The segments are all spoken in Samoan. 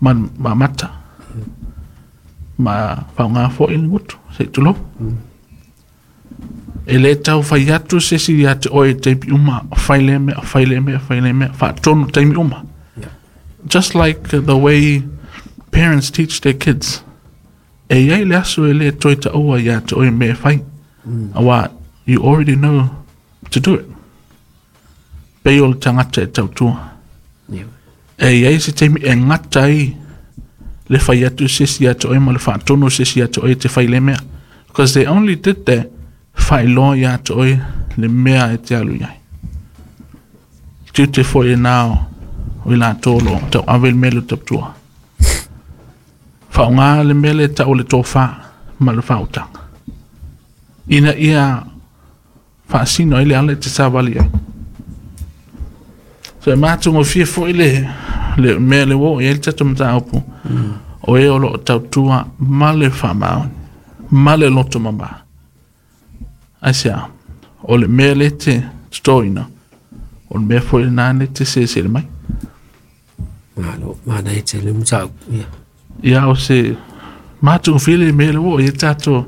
Ma mata. Ma faaaoga foi le gutu se i tulou. E le tau fai atu se isi ia te oe i taimi uma, fai lea mea, fai lea mea, fai lea mea, faatonu taimi uma. Just like the way parents teach their kids. E i ai le aso e le toe taua ia te oe mea e fai. Aua you already know to do it. Pei o le tagata e tautua. E i ai se taimi e gata ai le fai atu se isi ia te oe ma le faatonu se isi ia te oe e te fai lea mea. Because they only did that faailoa ia te oe le mea e te alu i ai. Tiute foi lena o i latou o lo o tauave le mea lea o le tautua. Faaaoga le mea lea e tau o le tofa ma le faautaga ina ia faasino ai le ala e te savali ai. So e matagofie foi le mea lea ua oo i ai le tatou mataupu, o e o lo o tautua ma le faamaoni, ma le loto mama. Aisea? O le mea lea e te totoina, o le mea foi lena lea e te selesele mai. Malo, manaia tele le mataupu, ia. Ia, o se matagofie le mea lea ua oo i ai le tatou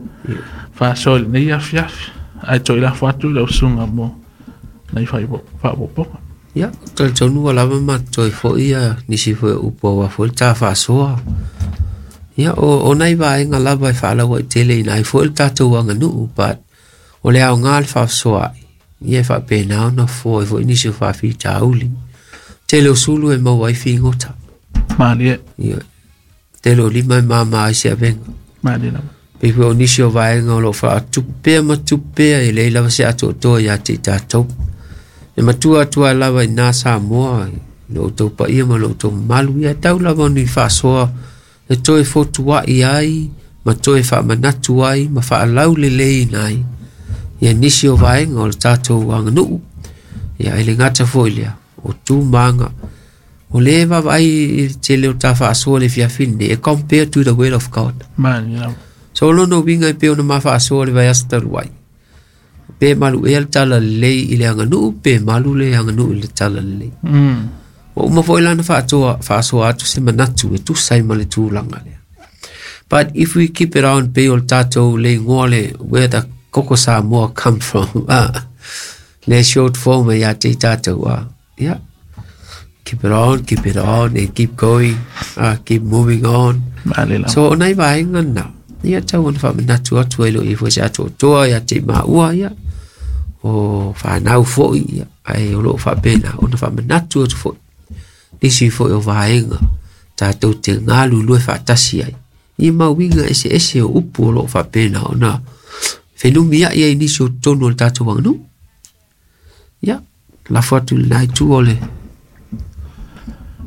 faasoa i lenei afiafi. Ae toe lafo atu i lau susuga mo nai faaopoopoga. Ia, ou te talitonu ua lava ma totoe foi ia nisi foi o upu aua foi le ta faasoa. Ia, o nai vaega lava e faalauaiteleina ai foi le tatou aganuu, but o le aoga le faasoaai, ia e faapena ona fofo ai foi nisi o faafitauli. Tele o sulu e maua ai figota. Malie. Ia, tele o lima e mama ai se avega. Malie lava. Pei foi o nisi o vaega o lo o faatupu pea ma tupu pea e leai lava se atoatoa ia te i tatou. E matua atu ai lava i nā Samoa, i lo outou paia ma lo outou mamalu, ia e tau lava ni faasoa e toe fotuai ai ma toe faamanatu ai ma faalauleleina ai ia nisi o vaega o le tatou aganuu. Ia e le gata foi lea, o tu ma aga. O lea e vaavaai i le tele o ta faasoa i le afiafi lenei, e compare to the word of God. Malie lava. So o lona uiga e pei ona ma faasoa i le vaiaso talu ai, pe malu ea le talalelei i le aganuu, pe malu le aganuu i le talalelei. Ua uma foi la ona faatoa, faasoa atu se manatu e tusa ai ma le tulaga lea. But if we keep it on, pei o le tatou le igoa le where the Koko Samoa come from, le short form e ia te i tatou, yeah. Keep it on, keep it on, and keep going, keep moving on. Malie lava. So o nai vaega na, ia tau ona faamanatu atu ai loa i foi se atoatoa ia te i maua ia, o whanau foi ia, ae o loo faapena ona faamanatu atu foi nisi foi o vaega tatou te galulue faatasi ai i mau uiga eseese o upu o loo faapena ona fenumiai ai nisi o totonu o le tatou aganuu. Ia, lafo atu i lena itu o le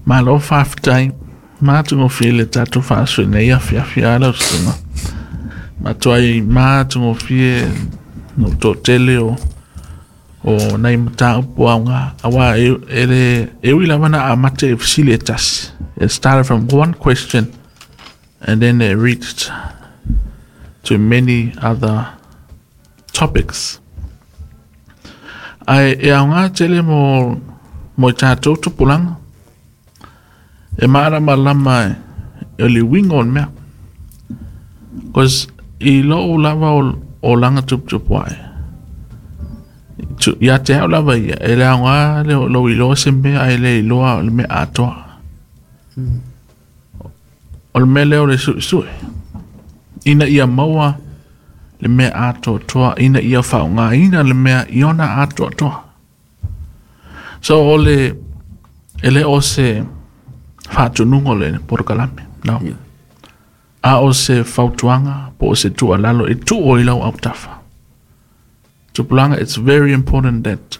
Malo faafetai. Matagofie le tatou faasoa i lenei afiafi a lau susuga. Matuai matagofie no toatele o nai mataupu aoga aua e le e ui lava na amata i fesili e tasi. It started from one question and then it reached to many other topics. Ae e aoga tele mo i tatou tupulaga. E malamalama e le uiga o le mea. Cause i lou lava o laga tuputupu ae, ia te au lava ia, e le aoga le lou iloa se mea ae le iloa o le mea atoa. O le mea lea o le suesue, ina ia maua le mea atoatoa, ina ia faaaogaina le mea i ona atoatoa. So o le, e le o se faatonuga o le polokalame, no. Yeah. A o se fautuaga po o se tuualalo e tuu i lau autafa. Tupulaga, it's very important that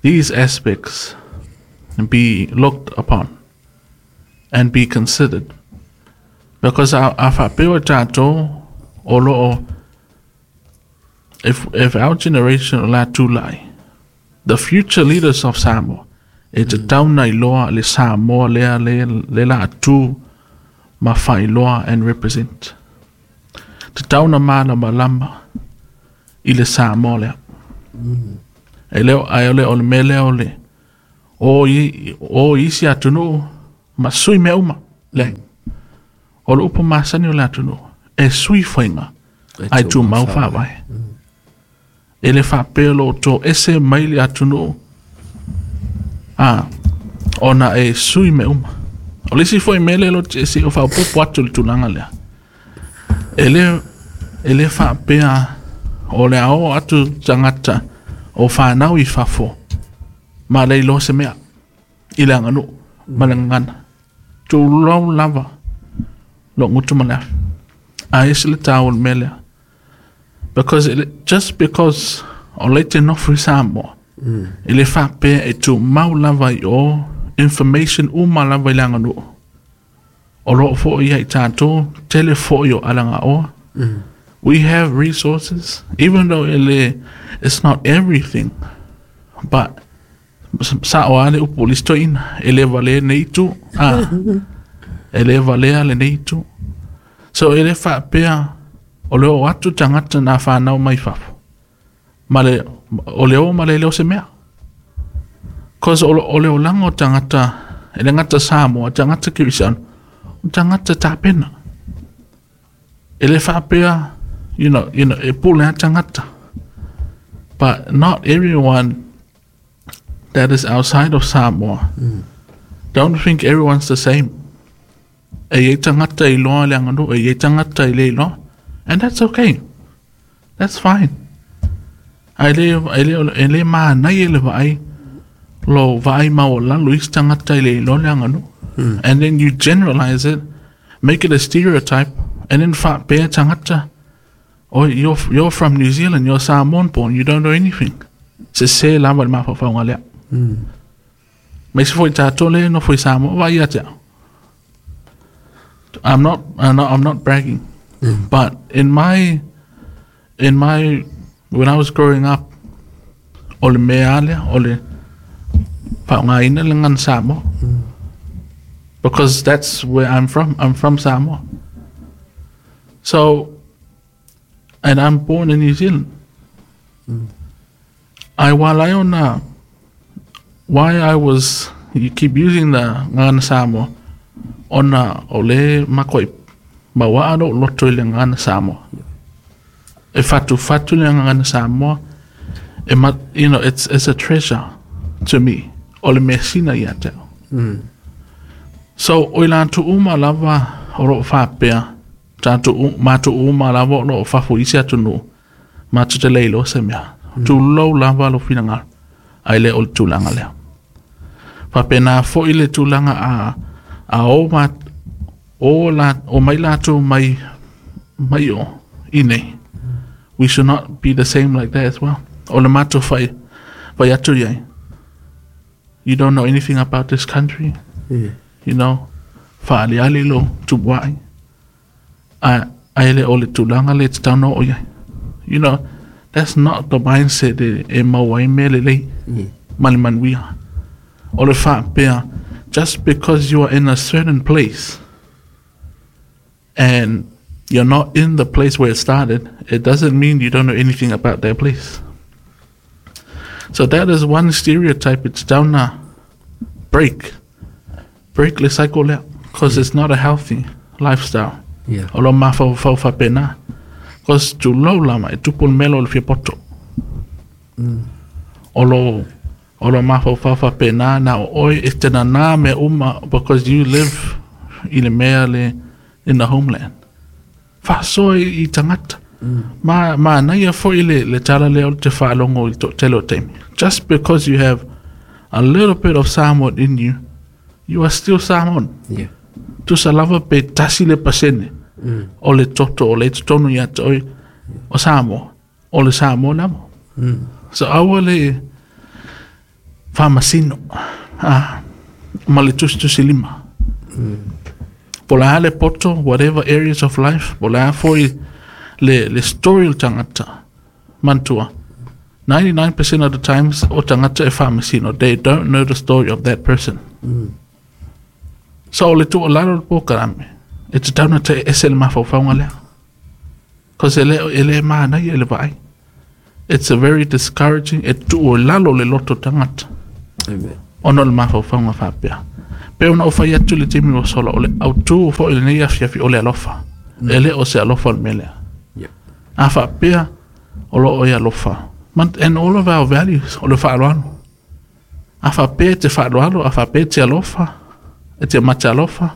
these aspects be looked upon and be considered. Because a faapea o tatou o lo o, if our generation o la tulai, the future leaders of Samoa, e tatau ona iloa le Samoa lea le la tu ma faailoa and represent. Tatau ona malamalama i le Samoa lea. E le o, ae o le, o le mea lea o le o i isi atunuu ma sui mea uma. Leai. O le upu masani o le atunuu, e sui faiga, ae tumau faavae. E le faapea lo to ese mai le atunuu, ona e sui me uma. O le isi foi mea lea lo te se o faaopoopo atu le tulaga lea. E le faapea o le ao atu tagata o whanau i fafo ma le iloa se mea i le aganuu ma le gagana. Tulou lava lo gutu ma le afi. A ese le tāua o le mea lea. Because just because o le te nofo i Samoa, e le faapea e tumau lava i o information uma lava i le aganuu. O loo foi ia i tātou, tele foi o alagaoa. We have resources, even though it's not everything, but sa o ale upu listo ina, e le valea nei tu, e le valea le nei tu. So e le faapea o le o atu tagata na whanau mai fafo. Ma le, o le o ma le leo se mea. Cause o le olaga o tagata, e le gata Samoa, tagata Kirisiano, o tagata tapena. E le faapea, you know, e pule a tagata. But not everyone that is outside of Samoa. Don't think everyone's the same. E iai tagata i loa le aganuu, e iai tagata i le iloa. And that's okay. That's fine. Ai le, e le, e le mānai e le vaai, lo vaai maualalo isi tagata i le iloa le aganuu. And then you generalize it, make it a stereotype, and then faapea tagata, oh, you're from New Zealand, you're Samoan born, you don't know anything. Se se lava le mafaufauga lea. Ma isi foi tātou le nofo i Samoa, vai ia te au. I'm not bragging, but when I was growing up, o le mea lea, o le faaaogaina le gagana Samoa. Because that's where I'm from. I'm from Samoa. So, and I'm born in New Zealand. I while I on why I was you keep using the gagana Samoa ona o le makoi maua lo loto i le gagana Samoa. E fatu fatu le gagana Samoa e ma, it's a treasure to me. O le mea sina ia te au. So, o i lātou uma lava o loo faapea, tātou mātou uma lava o loo fafo i isi atunuu, matou te le iloa se mea. Tulou lava lo finagalo, ai le o le tulaga lea. Faapena foi le tulaga a o ma, o, la, o mai latou mai, mai o, i nei. We should not be the same like that as well. O le matou fai, fai atu iai. You don't know anything about this country. Faaliali lo tupuai. A, ai le o le tulaga le te tau o iai. That's not the mindset e mau ai mea lelei. Ma le manuia. O le faapea, just because you are in a certain place and you're not in the place where it started, it doesn't mean you don't know anything about that place. So that is one stereotype. It's down a break. Break le cycle lea. Because it's not a healthy lifestyle. O lo mafaufau faapena. Cause tulou lava e tupu le mea lea o le fiapoto. O lo mafaufau faapena na o oe e te nana mea uma because you live i le mea le in the homeland. Faasoa i tagata. Ma manaia foi le tala lea o te faalogo i le toatele o taimi. Just because you have a little bit of Samoan in you, you are still Samoan. Tusa lava pe 1% o le toto o le totonu ia te oe o Samoa. O le Samoa lava. So aua le faamasino ma le tusitusi lima. Po o le a le poto, whatever areas of life, po o le a foi le story o le tagata, manatua. 99% of the times o tagata e faamasino, they don't know the story of that person. So o le tuualalo le polokalame, e tatau ona te ese le mafaufauga lea. Cause e le manaia i le vaai. It's a very discouraging, e tuu i lalo le loto tagata. Amen. Ona o le mafaufauga faapea. Pe ona ou fai atu i le taimi ua sola, o le autū foi o lenei afiafi o le alofa. E le o se alofa le mea lea. A faapea o lo o e alofa. And all of our values, o le faaaloalo. A faapea e te faaaloalo, a faapea e te alofa, e te mate alofa,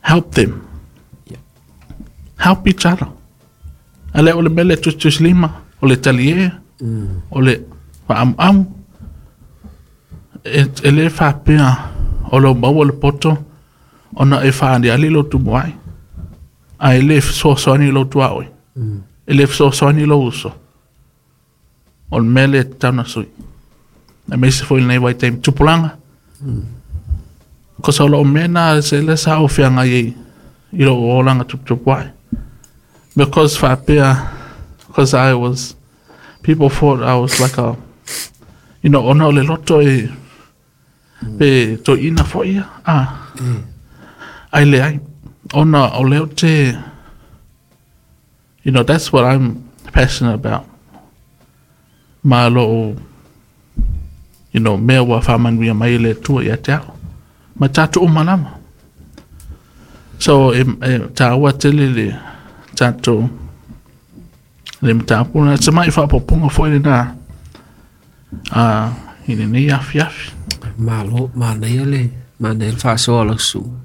help them. Help each other. A le o le mea lea tusitusilima, o le talie, o le faaamuamu, e le faapea o lou maua le poto ona e faaaliali lou tumuai, ae le fesoasoani lou tuaoi, e le fesoasoani lou uso. O le mea lea e tatau ona sui. Aemaise foi lenei vaitaimi tupulaga. Kosa o lou mea na se le sa ou feagai ai i lou olaga tuputupu ae. Because faapea, because I was, people thought I was like a, you know, ona o le loto e, pe toeaina foi ia, ai leai, ona o lea ou te, you know, that's what I'm passionate about. Ma lou, you know, mea ua faamanuia mai e le Atua ia te au. Ma tatou uma lava. So, e taua tele le tatou le mataupu. Na se mai faaopoopoga foi lena i lenei afiafi. Malo, manaia le manaia le faasoa o lau susuga.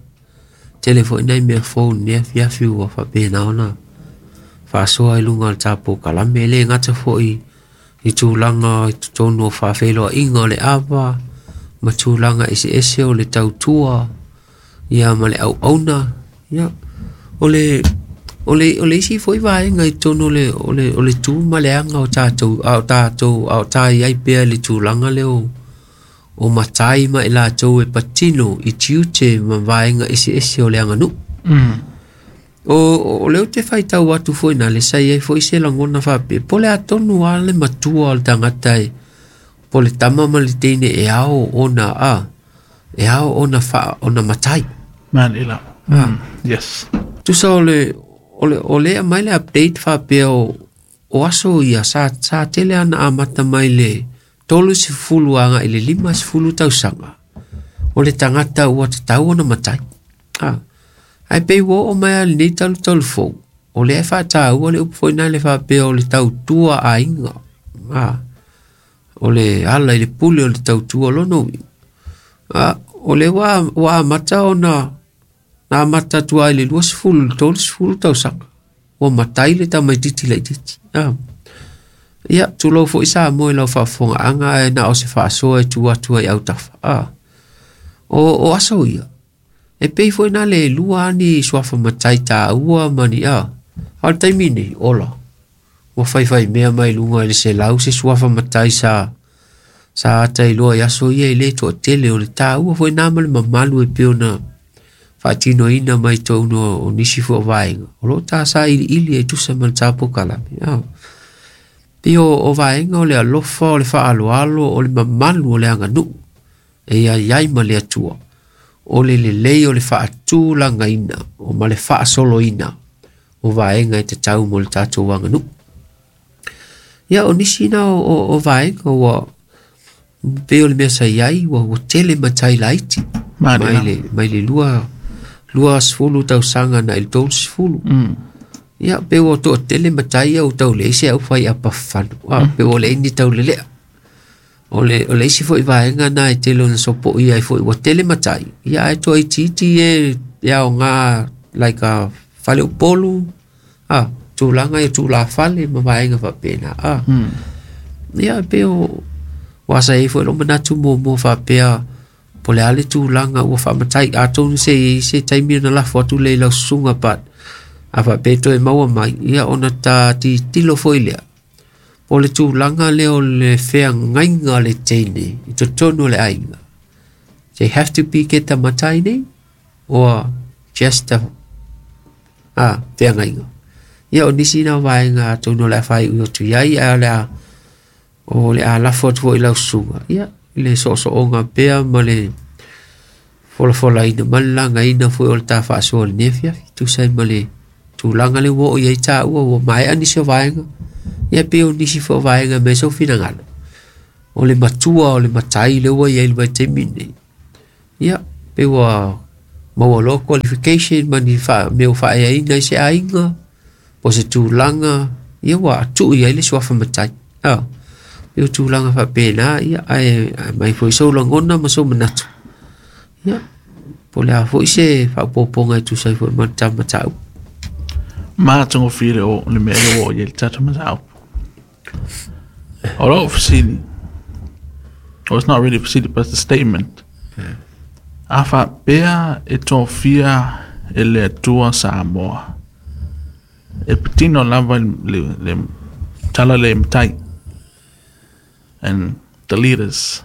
Tele foi nai mea fou i lenei afiafi ua faapena ona faasoa i luga o le tatou kalame. E le gata foi i tulaga i totonu o faafeiloaiga o le ava ma tulaga eseese o le tautua ia ma le auauna. Ia, o le o le o le isi foi vaega i totonu o le o le o le tu ma le aga o tatou a o tatou a o ta i ai pea i le tulaga lea o o matai ma i latou e patino i tiute ma vaega eseese o le aganuu. O lea ou te faitau atu foi na le sa i ai foi se lagona faapea, po o le a tonu lava le matua o le tagata e po o le tama ma le teine e ao ona a e ao ona fa ona matai. Man ila. Yes. Tusa o le o le o le aumai le update faapea o o aso ia sa sa tele ana amata mai le 30 agai i le 50 tausaga o le tagata ua tatau ona matai. A ae pei ua oo mai lava i lenei talutalu fou o lea e faataua le upu foi lena le faapea o le tautua aiga. A o le ala i le pule o le tautua lona uiga. A o lea ua ua amata ona na amata atu lava i le 20 i le 30 tausaga ua matai le tamaitiiti laitiiti. A ia, tulou foi Samoa i lau faafofogaaga ae na o se faasoa e tuu atu ai i autafa. A o aso ia e pei foi na le lua ni suafa matai taua ma ni a. A o le taimi nei, ola, ua faifai mea mai luga i le 100 se suafa matai sa sa ata iloa i aso ia e le toatele o le taua foi na ma le mamalu e pei ona faatinoina mai totonu o nisi foi o vaega o lo o ta sailiili e tusa ma le tatou kalame. A pei o vaega o le alofa o le faaaloalo o le mamalu o le aganuu e iai ai ma le Atua o le lelei o le faatulagaina o ma le faasoloina o vaega e tatau mo le tatou aganuu. Ia o nisi na o vaega ua pei o le mea sa i ai ua ua tele matai laiti mai le mai le 20 tausaga na i le 30. Ia pe ua toatele matai ia ua tau leai se au fai apa fafano. A pe ua leai ni taulelea. O le isi foi vaega na e tele ona sopoia ai foi ua tele matai. Ia ae toaitiiti e e aoga like a faleupolu, a tulaga ia tulafale ma vaega faapena. A ia pe o ua sa i ai foi lou manatu muamua faapea po o le a le tulaga ua faamatai atonu se i ai se taimi ona lafo atu lea i lau susuga but a faapea e toe maua mai ia ona ta tilotilo foi lea po o le tulaga lea o le feagaiga o le teine i totonu o le aiga. They have to be get the matai nei or just the a feagaiga. Ia o nisi na o vaega atonu o le a faaiu atu i ai ae o le a lafo atu foi i lau susuga. Ia i le soosooga pea ma le folafolaina ma le lagaina foi o le ta faasoa i lenei afiafi. Tusa ai ma le tulaga lea ua oo i ai taua ua maea nisi o vaega. Ia pei o nisi foi o vaega mai sou finagalo. O le matua o le matai lea ua i ai i le vaitaimi lenei. Ia, pe ua maua loa qualification ma ni mea ua faaeaina ai se aiga, po o se tulaga, ia ua tuu i ai le suafa matai. Pei o tulaga faapena, ia, ae aumai foi sou lagona ma sou manatu. Ia, po o le a foi se faaopoopoga e tusa ai foi ma le ta mataupu. Matagofie le o le mea le ua oo i ai le tatou mataupu. O lou fesili, well, it's not really a fesili, but it's a statement. A faapea e tofia e le Atua Samoa, e patino lava le tala lea i matai and the leaders.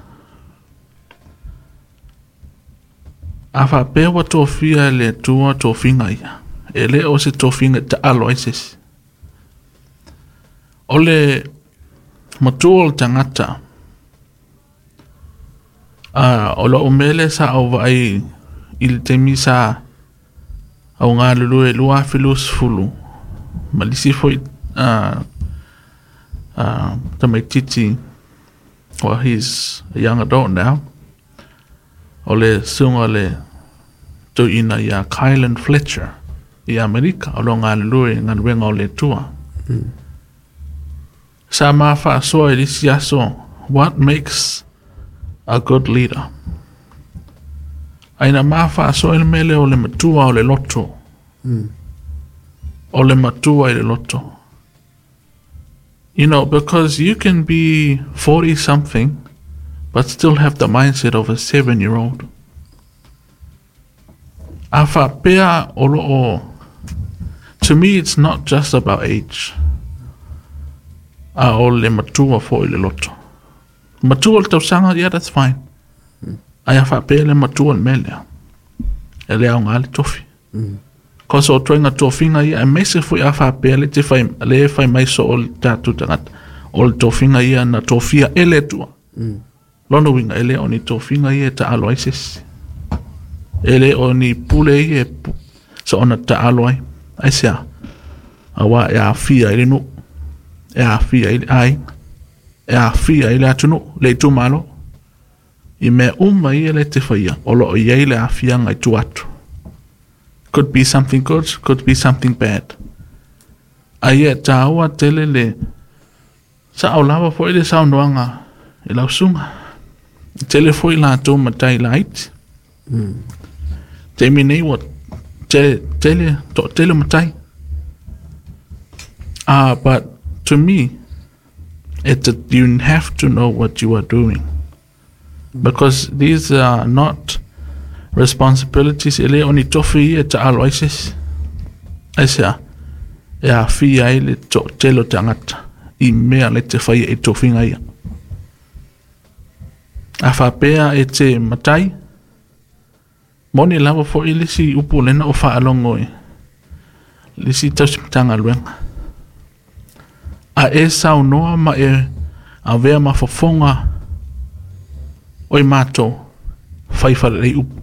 A faapea ua tofia e le Atua tofiga ia, e le o se tofiga e taalo ai se isi. O le matua o le tagata, o lou mea lea sa ou vaai i le taimi sa au galulue 2020 ma le isi foi tamaitiiti, well, he's a young adult now, o le susuga le toeaina ia Kylan Fletcher i Amerika, o lo o galulue i galuega o le Atua. Sa ma faasoa i le isi aso, what makes a good leader? Ae na ma faasoa i le mea lea o le matua o le loto. O le matua i le loto. You know, because you can be 40 something but still have the mindset of a 7-year-old. A faapea o lo o, to me it's not just about age. A o le matua foi le loto. Matua le tausaga, yeah, that's fine. Ae a faapea le matua le mea lea, e le aoga le tofi. Cause o ituaiga tofiga ia, aemaise foi a faapea le te fai, le fai mai so o le tatou tagata, o le tofiga ia na tofia e le Atua. Lona uiga, e le o ni tofiga ia e taalo ai se isi. E le o ni pule ia e soona taalo ai. Aisea? Aua e aafia i le nuu, e aafia i le aiga, e aafia i le atunuu, le itumalo. I mea uma ia le te faia, o loo i ai le aafiaga i tua atu. Could be something good, could be something bad. Ae ia e tāua tele le sao lava foi le saunoaga i lau susuga. E tele foi latou matai laiti. Taimi nei ua tele, toatele matai. But to me, you have to know what you are doing. Because these are not responsibilities e le o ni tofi ia e taalo ai se isi. Aisea? E aafia ai le toatele o tagata i mea le te faia i tofiga ia. A faapea e te matai, moni lava foi le isi upu lena o faalogo i le isi tausi Matagaluega. A e saunoa ma e avea ma fofoga o i matou, fai faalelei upu.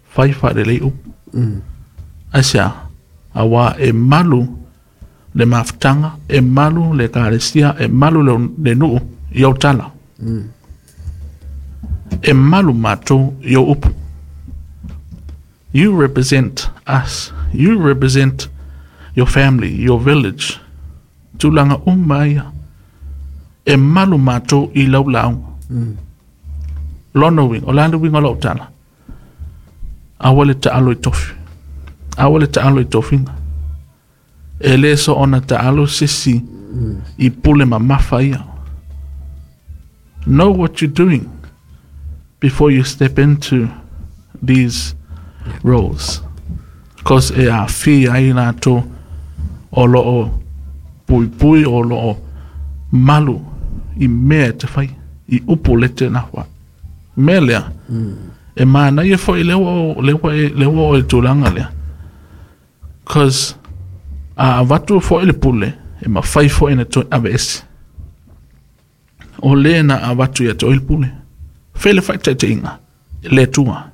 Fai faalelei upu. Aisea? Aua e malu le mafutaga, e malu le ekalesia, e malu le nuu i ou tala. E malu matou i ou upu. You represent us. You represent your family, your village. Tulaga uma ia. E malu matou i lau lauga. Lona uiga, o le a le uiga o lau tala? Aua le taalo i tofi. Aua le taalo i tofiga. E le soona taalo se isi i pule mamafa ia. Know what you're doing before you step into these roles. Because e aafia ai latou o lo o puipui, o lo o malu i mea e te fai, i upu le te nafa. Mea lea, e manaia foi lea ua o, lea ua e, lea ua oo i le tulaga lea. Cause a avatu foi le pule, e mafai foi ona toe aveese. O le na avatu ia te oe le pule. Fai le faataitaiga, le Atua.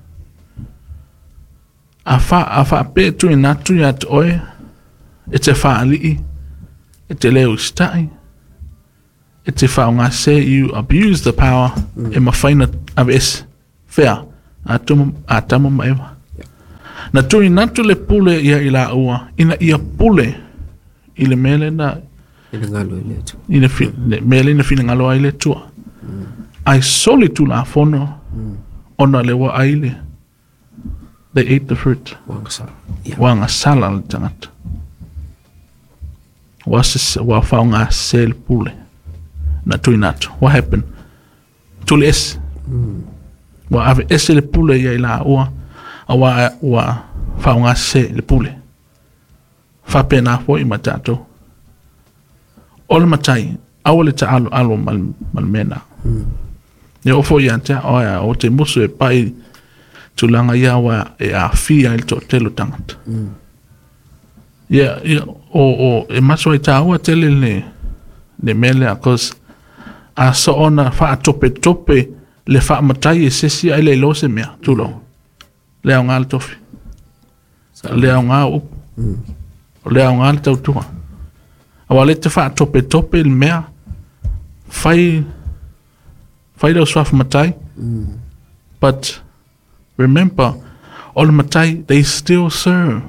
A fa, a faapea e tuuina atu ia te oe, e te faalii, e te le usitai, e te faaaoga se you abuse the power, e mafai ona aveese. Fea, Atama ma Eva. Na tuuina atu le pule ia i laua, ina ia pule i le mea lena Finagalo i le Atua. I le mea lena finagalo ai le Atua. Ae soli tulafono ona le ua ai le they ate the fruit. Ua agasala. Ua agasala le tagata. Ua ua faaaogasese le pule na tuuina atu. What happened? Tuli ese. Ua ave ese le pule ia i laua, auā ua faaaogasese le pule. Faapena foi ma tatou. O le matai, aua le taaloalo ma le mea lena. E oo foi ia te au, ou te musu e pai tulaga ia aua e aafia ai le toatele o tagata. Ia, ia, o, o, e maso ai tāua tele le, le mea lea, cause a soona faatopetope le faamatai e se isi ae le iloa se mea, tulou. Le aoga le tofi. Le aoga o upu. O le aoga le tautua. Aua le te faatopetope le mea, fai, fai lau suafa matai, but remember, o le matai, they still serve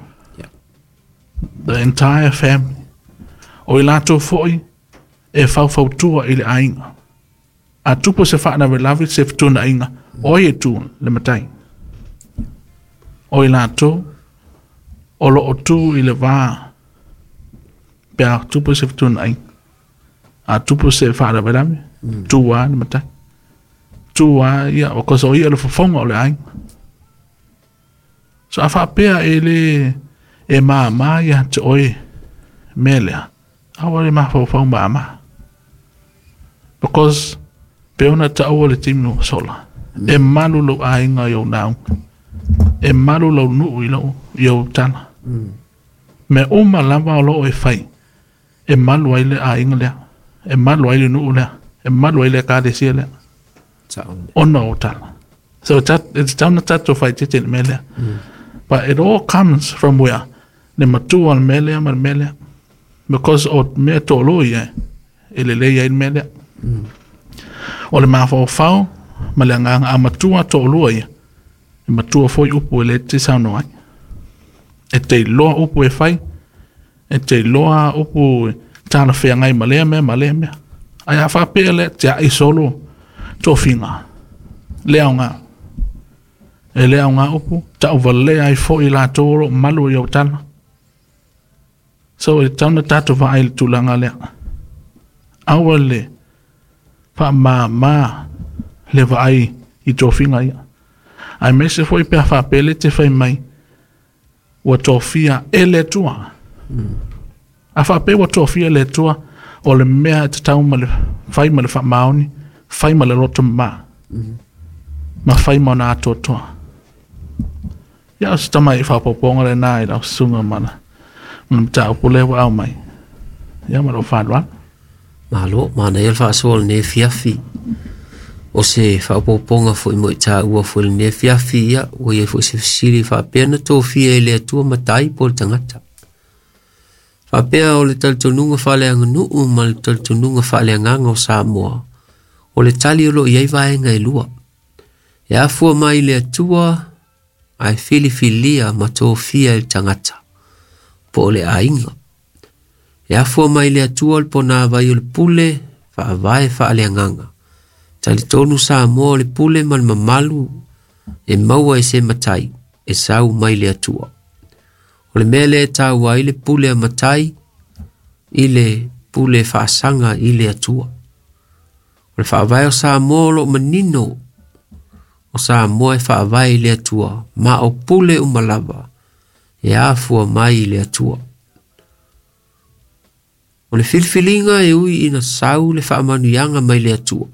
the entire family. O i latou foi e faufautua i le aiga. A tupu se faalavelave, se fetuunaiga, o ai e tu? Le matai. O i latou o lo o tu i le va pe a tupu se fetuunaiga. A tupu se faalavelave, tu lava le matai. Tu lava ia, because o ia le fofoga o le aiga. So a faapea e le e māmā ia te oe mea lea, aua le mafaufau māmā. Because pe ona taua le taimi ua sola, e malu lou aiga i ou lauga, e malu lou nuu i lou i ou tala. Mea uma lava o lo o e fai, e malu ai le aiga lea, e malu ai le nuu lea, e malu ai le ekalesia lea. Ona o tala. So it's tatau ona tatou faaeteete i le mea lea. But it all comes from where? Le matua o le mea lea ma le mea lea. Because o mea toalua ia e lelei ai le mea lea. O le mafaufau ma le agaga a matua toalua ia, e matua foi upu e le te saunoa ai. E te iloa upu e fai, e te iloa upu e talafeagai ma lea mea ma lea mea. Ae a faapea lea tiai solo tofiga, le aoga. E le aoga upu, tauvalea ai foi i latou o lo o malu i ou tala. So e tatau ona tatou vaai i le tulaga lea. Aua le faamama le vaai i tofiga ia. Aemaise foi pe a faapea le te fai mai ua tofia e le Atua. A faapea ua tofia e le Atua, o le mea e tatau ma le fai ma le faamaoni, fai ma le loto mama, ma fai ma ona atoatoa. Ia, o se tamai faaopoopoga lena i lau susuga ma le mataupu lea ua aumai. Ia, ma lou faaaloalo. Malo, manaia le faasoa o lenei afiafi. O se faaopoopoga foi mo i taua foi i lenei afiafi, ia, ua i ai foi se fesili faapea na tofia e le Atua matai po o le tagata. Faapea o le talitonuga faaleaganuu ma le talitonuga faaleagaga o Samoa, o le tali o lo o i ai vaega e lua. E afua mai i le Atua ae filifilia ma tofia e le tagata, po o le aiga. E afua mai i le Atua le ponavai o le pule faavae faaleagaga. Talitonu Samoa o le pule ma le mamalu e maua e se matai e sau mai le Atua. O le mea lea e taua ai le pule a matai i le pule faasaga i le Atua. O le faavae o Samoa o lo o manino o Samoa e faavae i le Atua, ma o pule uma lava e afua mai i le Atua. O le filifiliga e ui ina sau le faamanuiaga mai le Atua,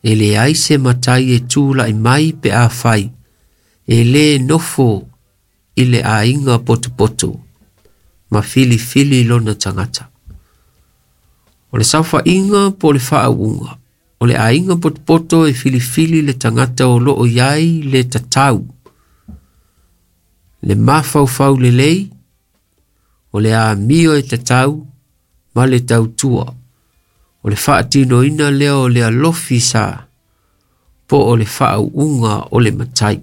e leai se matai e tulai mai pe afai, e lē nofo i le aiga potopoto ma filifili lona tagata. O le saofaiga po o le faauuga, o le aiga potopoto e filifili le tagata o lo o i ai le tatau, le mafaufau lelei, o le amio e tatau ma le tautua. O le faatinoina lea o le alofi sa Po o le faauuga o le matai.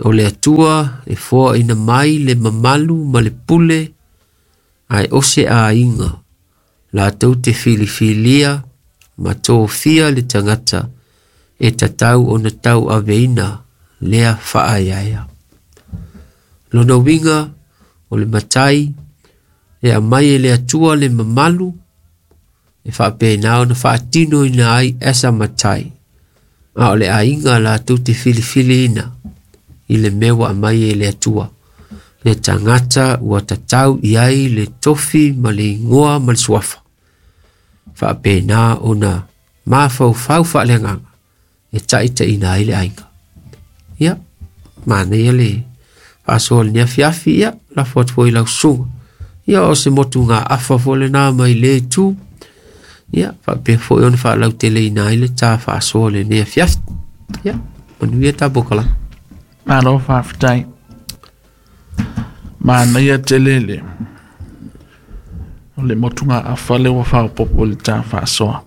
O le Atua e foaina mai le mamalu ma le pule ae o se aiga latou te filifilia ma tofia le tagata e tatau ona tauaveina lea faaeaea. Lona uiga o le matai e aumai e le Atua le mamalu e faapena ona faatinoina ai as a matai. A o le aiga latou te filifiliina i le mea ua aumai e le Atua. Le tagata ua tatau i ai le tofi ma le igoa ma le suafa. Faapena ona mafaufau faaleagaga e taitaiina ai le aiga. Ia, manaia le faasoa i lenei afiafi, ia, lafo atu foi i lau susuga. Ia, o se motugaafa foi lena mai lea itu. Ia, faapea foi ona faalauteleina ai le ta faasoa i lenei afiafi. Ia, manuia ta polokalame. Malo faafetai. Manaia tele le o le motugaafa lea ua faaopoopo i le ta faasoa.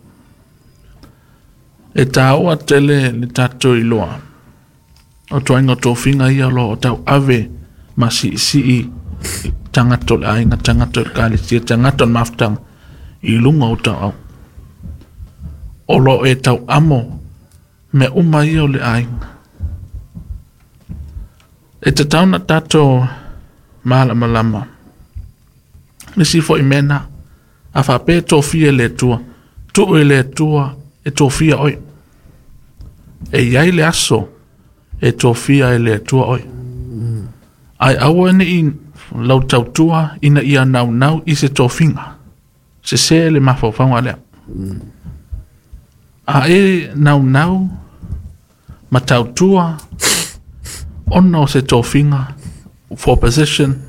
E taua tele le tatou iloa o ituaiga tofiga ia o lo o tauave ma siisii tagata o le aiga, tagata o le ekalesia, tagata o le mafutaga i luga o tauau. O lo o e tauamo mea uma ia o le aiga. E tatau ona tatou malamalama le isi foi mea lena. A faapea e tofia e le Atua, tuu i le Atua e tofia oe. E i ai le aso e tofia ai e le Atua oe. Ae aua ne i lau tautua ina ia naunau i se tofiga. Sese le mafaufauga lea. A e naunau ma tautua ona o se tofiga for position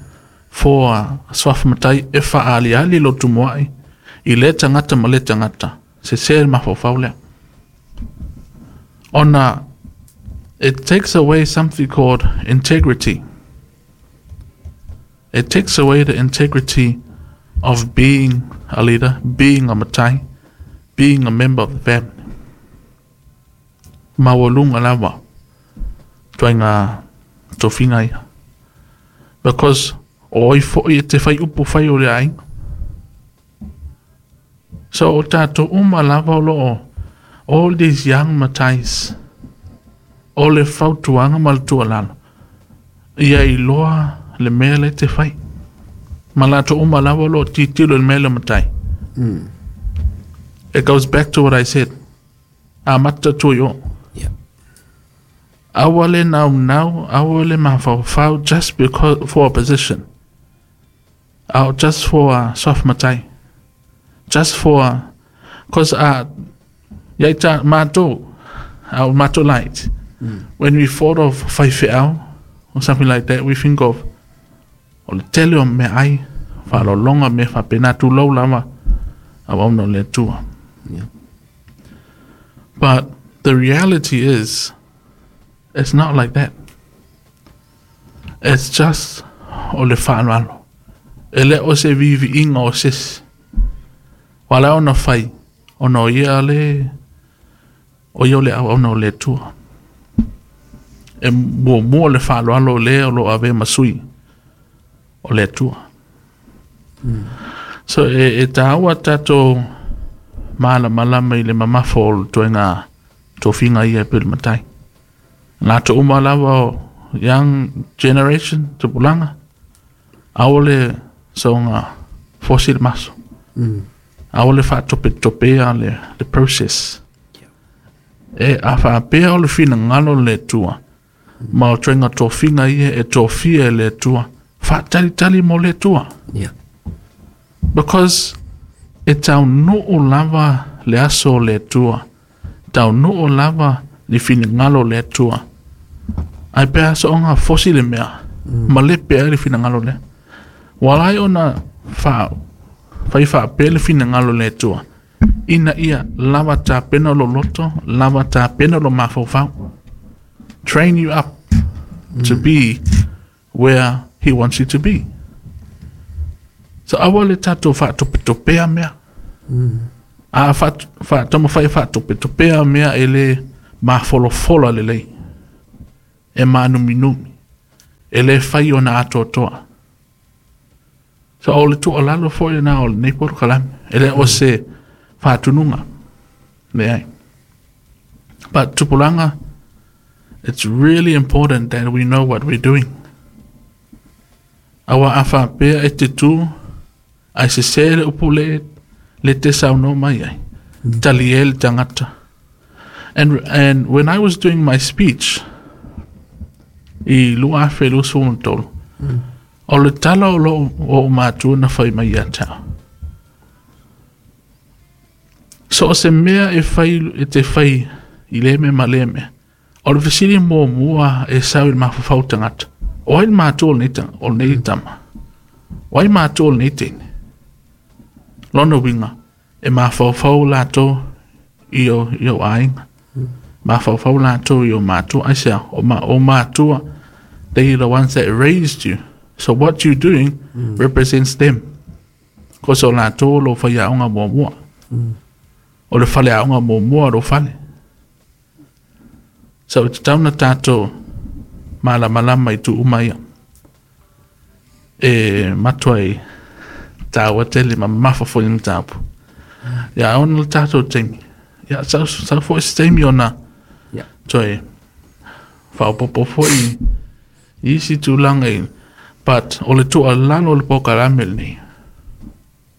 for suafa matai e faaaliali lou tumuai i lea tagata ma lea tagata, sese le mafaufau lea. Ona it takes away something called integrity. It takes away the integrity of being a leader, being a matai, being a member of the family. Maualuga lava ituaiga tofiga ia. Because o ai foi e te fai upu fai o le aiga. So o tatou uma lava o lo o all these young matais o le fautuaga ma le tuualalo ia iloa le mea lea e te fai. Ma latou uma lava o lo o tilotilo i le mea lea o matai. It goes back to what I said. Amata atu i o. Aua le naunau, aua le mafaufau just because for a position. Or just for a soft matai. Just for because ia i matou, our matou light. When we thought of faifeau or something like that, we think of o le tele o meaai, faaaloaloga mea faapena tulou lava auauna o le Atua. But the reality is, it's not like that. It's just o le faaaloalo. E le o se viiviiga o sesi. Ua ala ona fai, ona o ia le, o ia o le auauna o le Atua. E muamua le faaaloalo o le o lo o avea ma sui o le Atua. So e taua tatou malamalama i le mamafa o le ituaiga tofiga ia e pei o le matai. Latou uma lava o young generation, tupulaga, aua le soona fosi le maso. Aua le faatopetopea le process. E a faapea o le finagalo o le Atua, ma o ituaiga tofiga ia e tofia e le Atua, faatalitali mo le Atua. Because e taunuu lava le aso o le Atua, taunuu lava le finagalo o le Atua. Ae pe a soona fosi le mea, ma lepe ai le finagalo lea. Ua ala ai ona fa, fai faapea le finagalo o le Atua, ina ia lava tapena lou loto, lava tapena lou mafaufau. Train you up to be where he wants you to be. So aua le tatou faatopetopea mea. A faatamafai e faatopetopea mea e lē mafolafola lelei, e manuminumi, e lē fai ona atoatoa. So o le tuualalo foi lena o lenei polokalame, e le o se faatunuga, leai. But tupulaga, it's really important that we know what we're doing. Auā a faapea e te tu ae sesē le upu le le te saunoa mai ai, talie le tagata. And when I was doing my speech i 2023, o le tala o lou o matua na fai mai ia te au. So o se mea e fai e te fai i lea mea ma lea mea, o le fesili muamua e sau i le mafaufau tagata, o ai le matua o lenei tama? O ai matua o lenei teine? Lona uiga, e mafaufau latou i o aiga. Mafaufau latou i o matua. Aisea, o matua, they are the ones that raised you. So what you're doing represents them. Ko so latou lo faiaoga muamua. O le faleaoga muamua lo fale. So e tatau ona tatou malamalama i tuu uma ia. E matua i tāua tele ma mafa foi le mataupu. Ia, ona le tatou taimi. Ia, sau foi se taimi ona toe faaopoopo foi i isi tulaga i, but o le tuualalo o le polokalame lenei,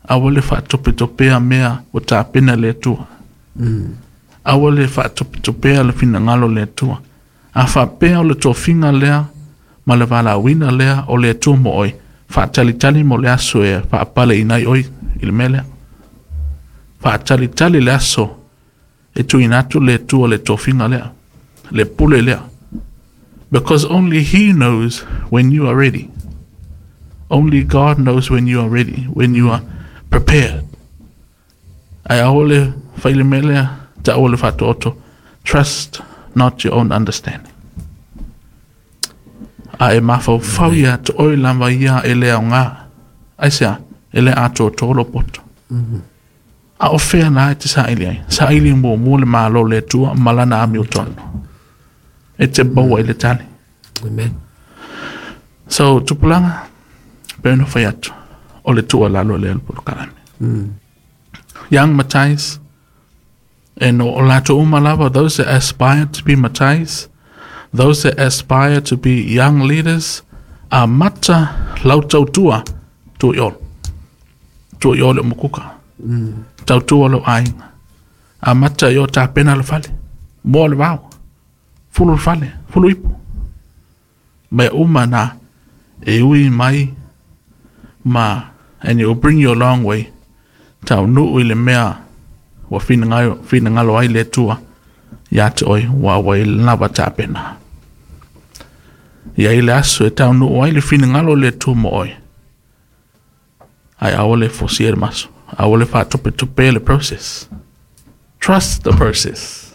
aua le faatopetopea mea ua tapena le Atua. Aua le faatopetopea le finagalo le Atua. A faapea o le tofiga lea ma le valaauina lea o le Atua mo oe, faatalitali mo le aso e faapaleina ai oe i le mea lea. Faatalitali le aso e tuuina atu le Atua le tofiga lea, le pule lea. Because only He knows when you are ready. Only God knows when you are ready, when you are prepared. Ae aua le fai le mea lea, taua le faatoto. Trust not your own understanding. A e mafaufau ia te oe lava ia e le aoga. Aisea, e le atoatoa lou poto. A o fea la e te saili ai? Saili muamua le Malo o le Atua ma lana amiotonu. E te maua i le tali. Amen. So, tupulaga, pe ona fai atu, o le tuualalo lea le polokalame. Young matais, and o latou uma lava, those that aspire to be matais, those that aspire to be young leaders, amata lau tautua tua i olo. Tua i olo o mukuka. Tautua lou aiga. Amata i o tapena le fale. Moa le vao. Fulu le fale. Fulu ipu. Mea uma na e ui mai ma, and it will bring you a long way. Taunuu i le mea ua finagalo ai le Atua ia te oe ua i lava tapena. Ia i le aso e taunuu ai le finagalo o le Atua mo oe. Ae aua le fosia le maso. Aua le faatopetope le process. Trust the process.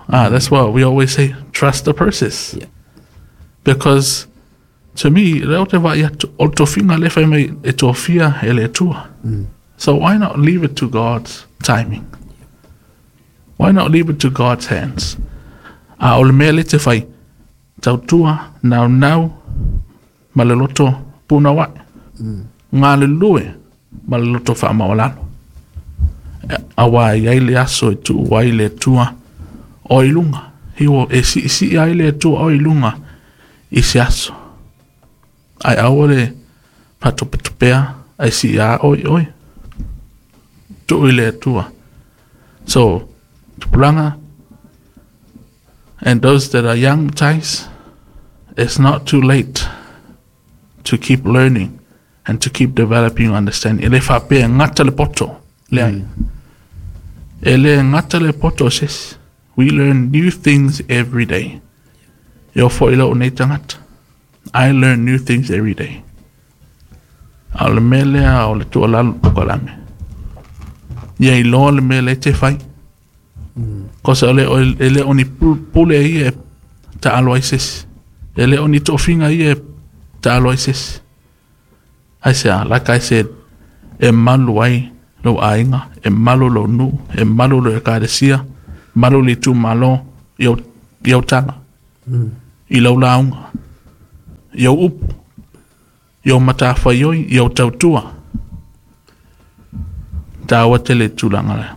Ah, that's what we always say. Trust the process. Because to me, lea ou te vaai atu, o le tofiga lea fai mai e tofia e le Atua. So why not leave it to God's timing? Why not leave it to God's hands? A o le mea le te fai, tautua, naunau, ma le loto punauai. Galulue ma le loto faamaualalo. Auā e i ai le aso e tuu ai le Atua o i luga. He e siisii ai le Atua o i luga i se aso. Ae aua le faatopetopea ae sii a oe i oe. Tuu i le Atua. So, tupulaga, and those that are young guys, it's not too late to keep learning and to keep developing your understanding. E le faapea e gata le poto, leai. E le gata le poto o se isi. We learn new things every day. E oo foi i lou nei tagata. I learn new things every day. A o le mea lea o le tuualalo polokalame. Ia iloa le mea lea e te fai. Kosa e le o ni pule ia e taalo ai se isi. E le o ni tofiga ia e taalo ai se isi. Aisea, like I said, e malu ai lou aiga, e malu lou nuu, e malu lou ekalesia, malu le itumalo i au tala, i lau lauga, i au upu, i au matafaioi, i au tautua. Taua tele tulaga lea.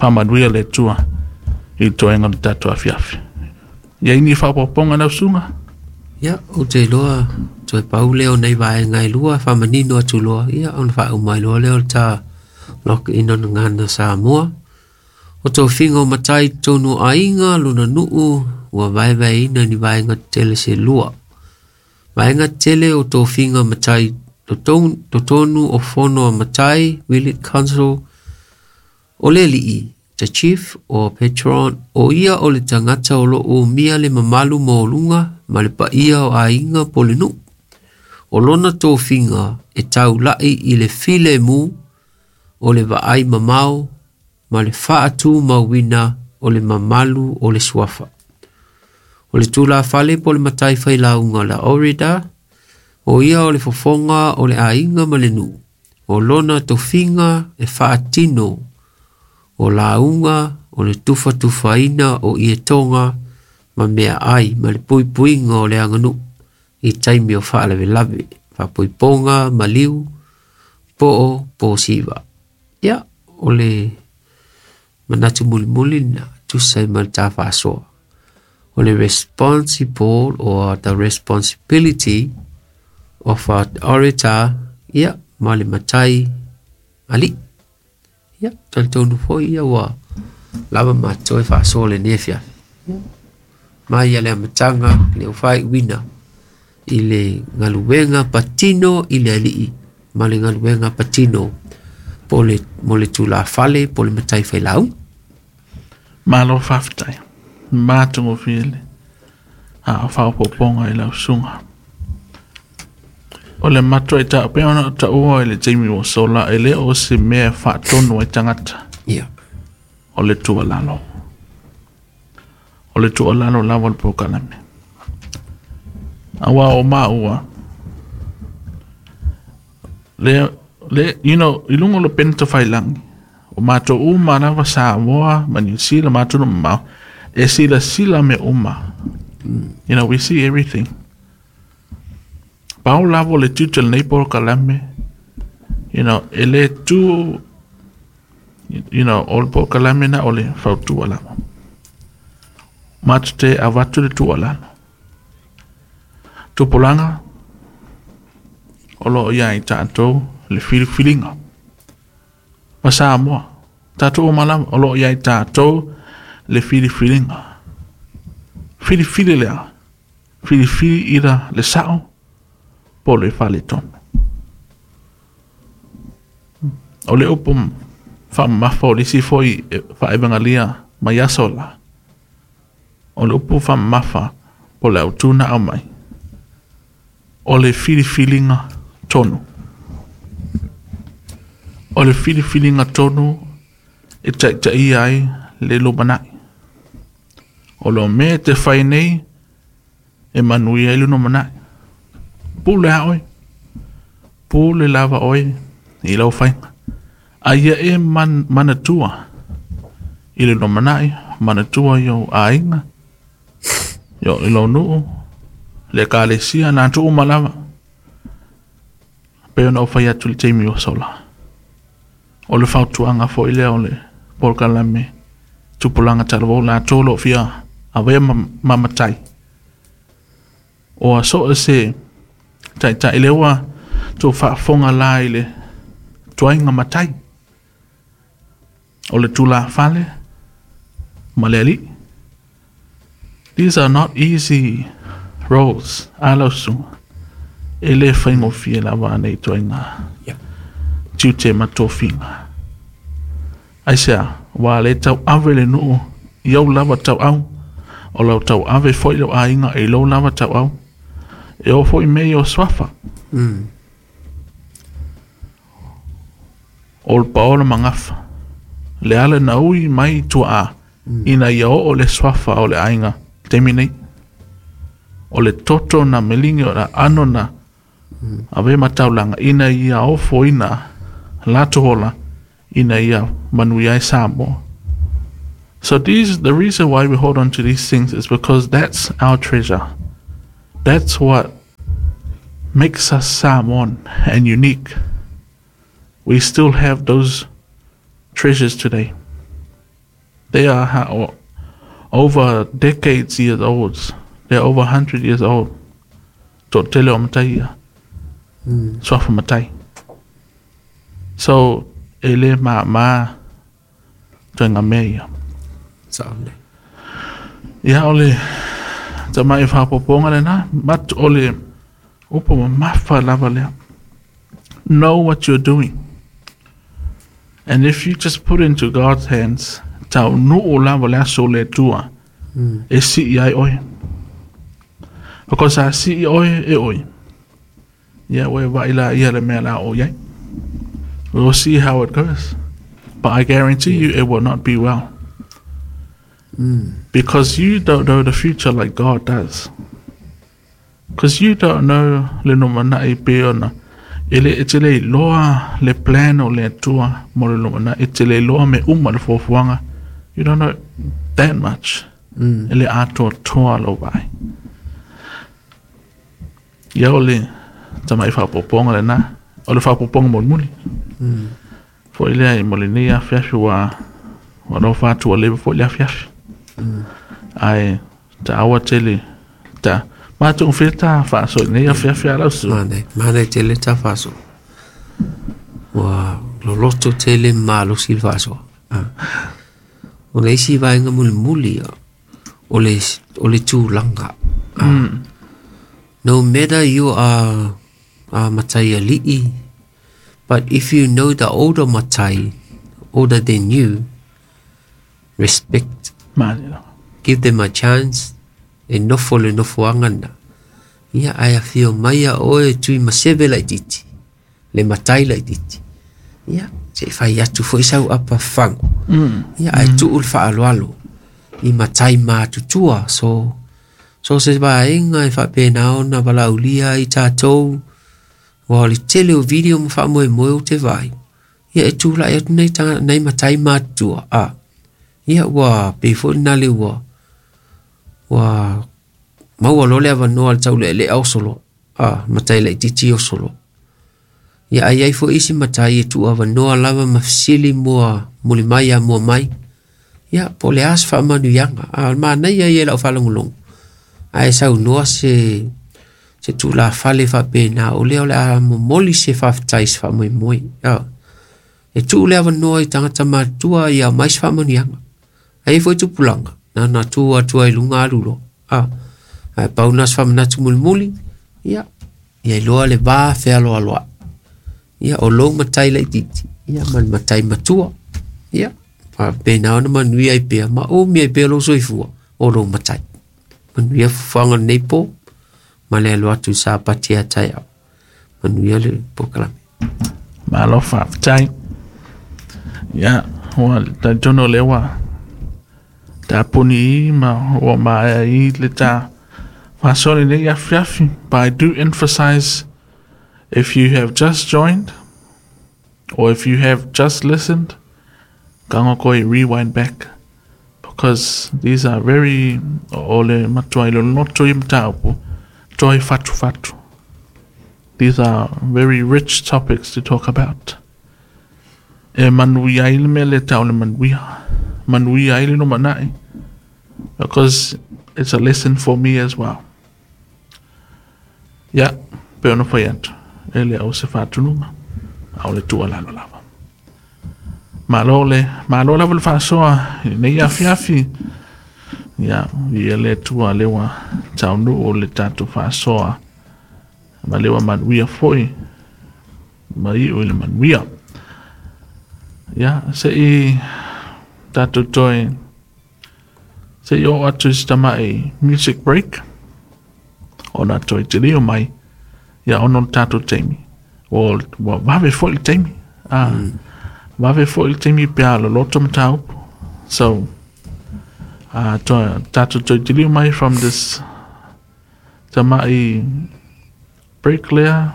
Faamanuia le Atua i le toega o le tatou afiafi. Ia i ni faaopoopoga lau susuga? Ia, ou te iloa toe pau lea o nei vaega e lua, faamanino atu loa, ia ona faauma ai loa lea o le ta lokiina o le gagana Samoa. O tofiga o matai i totonu o aiga, lona nuu, ua vaevaeina ni vaega tetele se lua. Vaega tetele o tofiga matai totonu o fono a matai, Village Council, o le alii, the chief or patron, o ia o le tagata o lo o umia le mamalu maualuga ma le paia o aiga po o le nuu. O lona tofiga e taulai i le filemu o le vaai mamao ma le faatumauina o le mamalu o le suafa. O le tulafale po o le matai failauga la Orida, o ia o le fofoga o le aiga ma le nuu. O lona tofiga e faatino o lauga o le tufatufaina o ietoga ma meaai ma le puipuiga o le aganuu i taimi o faalavelave, faapoipoga, maliu, po o posiva. Ia, o le manatu mulimuli lena, tusa ai ma le ta faasoa. O le responsible or the responsibility of a orator, ia, ma le matai alii. Ia, talitonu foi ia ua lava matou e faasoa lenei afiafi. Ia, mai ia le amataga le faaiuina i le galuega patino i le alii ma le galuega patino po le, mo le tulafale po le matai failauga. Malo faafetai. Matagofie le faaopoopoga i lau susuga. O le matuai taua pei ona taua i le taimi ua sola, e le o se mea e faatonu ai tagata. Ia. O le tuualalo. O le tuualalo lava o le polokalame. Aua o maua, le, le, you know, i luga o le pena tafailagi, o matou uma lava Samoa ma New Zealand, ma atunuu mamao, e silasila mea uma. You know, we see everything. Pau lava o le tiute o lenei polokalame, you know, e le tu, you know, o le polokalame na o le fautua lava. Matou te avatu le tuualalo. Tupulaga, o lo o ia i tatou le filifiliga. Ma Samoa, tatou uma lava, o lo o ia i tatou le filifiliga. Filifili lea, filifili ira le sao, po o le faaletonu. O le upu faamamafa o le isi foi faaevagalia mai aso la. O le upu faamamafa po o le autu na aumai. O le filifiliga tonu. O le filifiliga tonu e taitaia ai le lumanai. O lo mea e te fai nei e manuia ai le lumanai. Pule a oe. Pule lava oe i lau faiga. A ia e manatua i le lumanai, manatua i ou aiga, i lou nuu, le ekalesia, na atu uma lava. Pei ona ou fai atu i le taimi ua sola. O le fautuaga foi lea o le polokalame tupulaga talavou latou o lo o fia avea ma matai. O so o se taitai lea ua tou faafofoga la i le tuaiga matai. O le tulafale ma le alii. These are not easy roles. A lau susuga. E le faigofie lava nei tuaiga. Yeah. Tiute ma tofiga. Aisea, ua le tauave le nuu i ou lava tauau, o lau tauave foi lou aiga i lou lava tauau, e oo foi mea i o suafa. O le paola magafa, le ala na ui mai tuaa, ina ia oo le suafa o le aiga i le taimi nei. O le toto na meligi o le aano na avea ma taulaga, ina ia ofoina latou ola Ina ia manuia ai Samoa. So these the reason why we hold on to these things is because that's our treasure. That's what makes us Samoan and unique. We still have those treasures today. They are over decades years old. They're over 100 years old. Toatele o matai ia. Suafa matai. So, e le māmā ituaiga mea ia. Sao nei. Ia, o le tamai faaopoopoga lenā, but o le upu mamafa lava lea. Know what you're doing. And if you just put into God's hands, taunuu lava le aso o le Atua e sii ai oe. Because a sii oe e oe, ia ua e vaai laia le mea la o i ai. We'll see how it goes. But I guarantee you it will not be well. Because you don't know the future like God does. Because you don't know le lumanai pe ona e le e te le iloa le plan o le Atua mo le lumanai, e te le iloa me uma le fuafuaga. You don't know that much. E le atoatoa lou vaai. Ia o le tamai faaopoopoga lenā, o le faaopoopoga mulimuli. Foi lea mo lenei afiafi ua ua lofa atu ua leva foi le afiafi. Ae taua tele ta matou fea ta faasoa i lenei afiafi a lau Susu. Manaia, manaia tele ta faasoa. Ua loloto tele ma malosi le faasoa. Ah. O le isi vaega mulimuli, o le, o le tulaga. Ah. No matter you are a matai ali'i, but if you know the older matai, older than you, respect. Manaia lava. Give them a chance e nofo le nofoaga lena. Ia, ae afio mai a oe e tui maseve laitiiti, le matai laitiiti. Ia, se i fai atu foi sau apa fagu. Ia, ae tuu le faaaloalo i matai matutua. So, so se vaega e faapena ona valaaulia ai tatou, aua o le tele o video ma faamoemoe ou te vaai, ia e tulai atu nei tagata nei matai matutua, a, ia ua pei foi lena le ua, ua maua loa le avanoa i le taulealea oso loa, a, matai laitiiti oso loa. Ia ae i ai foi isi matai e tuuavanoa lava ma fesili mua muli mai a mua mai. Ia, po o le a se faamanuiaga. A o le manaia ia i lau faalogologo, ae saunoa se se tulafale faapena, o lea o le a momoli se faafetai i se faamoemoe. A, e tuu le avanoa i tagata matutua ia aumai se faamanuiaga. Ae i ai foi tupulaga, na ona tu atu ai i luga alu loa. A, ae pau lena o se faamanatu mulimuli, ia, ia iloa le va fealoaloai. Ia, o lou matai laitiiti, ia, ma le matai matua. Ia, faapena ona manuia ai pea ma umi ai pea lou soifua o lou matai. Manuia fuafuaga o lenei po, ma le alo atu i Sapati ia taeao. Manuia le polokalame. Malo faafetai. Ia, ua talitonu o lea ua tapuni i ma ua maea i le ta faasoa lenei afiafi. But I do emphasize if you have just joined or if you have just listened, kago koe rewind back because these are very o le matua i loloto i mataupu toi fatu fatu. These are very rich topics to talk about. E manuia ai le mea le tau le manuia. Manuia ai le lumanai. Because it's a lesson for me as well. Ia, pei ona fai atu, e le o se faatunuga, a o le tuualalo lava. Malo le, malo lava le faasoa i lenei afiafi. Ia, ia le Atua lea ua taunuu le tatou faasoa ma lea ua manuia foi ma iu i le manuia. Ia, se i tatou toe, se i oo atu i se tamai music break, ona toe tilio mai, ia ono le tatou taimi. Ua, ua vave foi le taimi. Ah, vave foi le taimi pe a loloto mataupu. So, to, tatou toe tilio mai from this tamai break lea,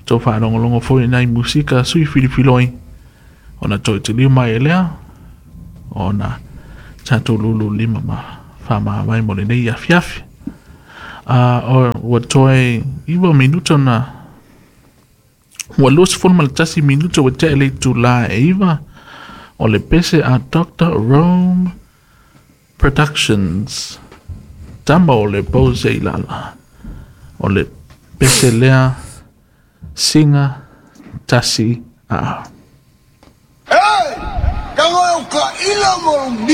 Tou faalogologo foi i nai musika sui filifiloi ona toe tiliu mai e lea ona tatou lulu lima ma faamavae mo lenei afiafi. A ua toe 9 minuta na ua 21 minuta ua tea i le itulā e 9 o le pese a Dr. Rome Productions tama o le pose i lala o le pese lea siga tasi a. Hey! Tango e ka ila mo.